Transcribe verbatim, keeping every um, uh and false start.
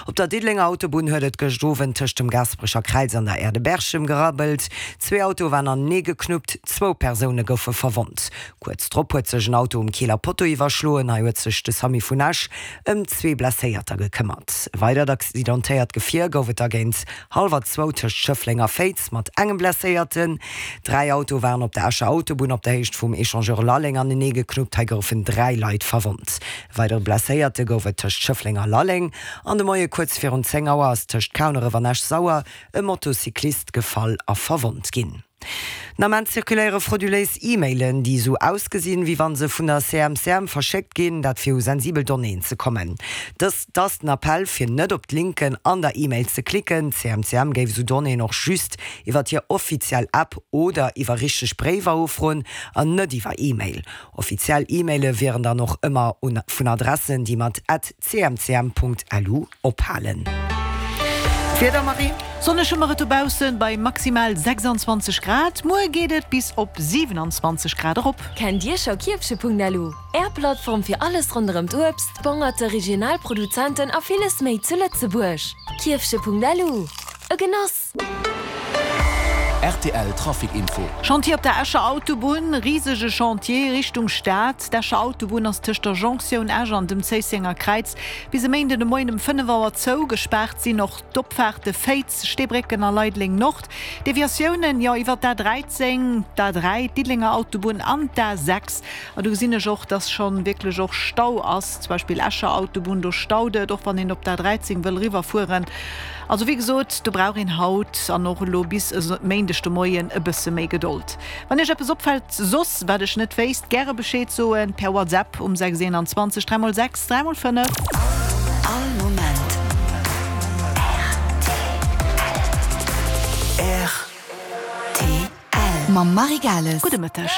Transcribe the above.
Op der Diddelenger Autobunn huet et gëscht Owend tëscht dem Gaasperecher Kräiz an der Aire de Berchem gerabbelt. Zwee Autoe waren anenee geknuppt, zwou Persoune goufe verwonnt. Kuerz drop huet sech en Auto um Keeler Potto iwwerschloen. Hei huet sech de Samu vun Esch ëm zwee Blesséierter gekëmmert. E weidert accidentéiert Gefier gouf et da géint hallwer zwou tëscht Schëffleng a Féiz mat engem Blesséierten. Dräi Autoe waren op der Escher Autobunn op der Héicht vum Echangeur Lalleng anenee geknuppt. Hei goufen dräi Leit verwonnt. E weidere Blesséierte gouf et tëscht Schëffleng a Lalleng. An de Moie kuerz virun zéng Auer ass tëscht Kauneref an Esch-Sauer e Motocyclist gefall a verwonnt ginn. Den Ament zirkuléiere frauduléis E-Mailen, déi esou ausgesinn, wéi wann se vun der C M C M verschéckt ginn, dat fir u sensibel Donnéeën ze kommen. Dëst ass den Appell, fir net op d'Linken an der E-Mail ze klicken. D'C M C M géif esou Donnéeën och just iwwer hir offiziell App oder iwwer richteg Bréiwer ufroen an net iwwer E-Mail. Offiziell E-Maile wieren dann och ëmmer vun Adressen, déi mat at C M C M Punkt L U ophalen. D'Wieder, Marie? Sonneg hu mer et dobaussen bei maximal sechsanzwanzeg Grad. Muer geet et bis op siewenanzwanzeg Grad erop. Kennt Dir scho Kierfche Punkt L U? Är Plattform fir alles ronderëm d'Uebst, d'Bongerte, regional Produzenten a villes méi zu Lëtzebuerg. Kierfche Punkt L U. E Genoss! R T L Trafic Info. Chantier op der Escher Autobunn, Risege Chantier Richtung Stad. D'Escher Autobunn ass tëscht der Jonktioun Esch an dem Zéissenger Kräiz bis e Méinden de Moien um fënnef Auer zou. Gespaart sinn och d'Opfaarte Féiz, Steebrécken a Leideleng Nord. Deviatiounen, jo, iwwer d'A dräizéng, d'A dräi, d'Diddelenger Autobunn an d'A sechs. A do gesinn ech och, dass scho wierklech och Stau ass, zum Beispill Escher Autobunn, do staut et, och wann een op d'A dräizéng wëll eriwwerfueren. Also wéi gesot, do brauch een haut an och elo bis e Méindeg de Moien e bësse méi Gedold. Wann Iech eppes opfält soss, wat ech net wéisst, gäre Bescheed soen per WhatsApp um sechs eenanzwanzeg dräi mol sechs dräi mol fënnef. All Moment R T L. Mam Marie Gales. Gudde Mëtteg.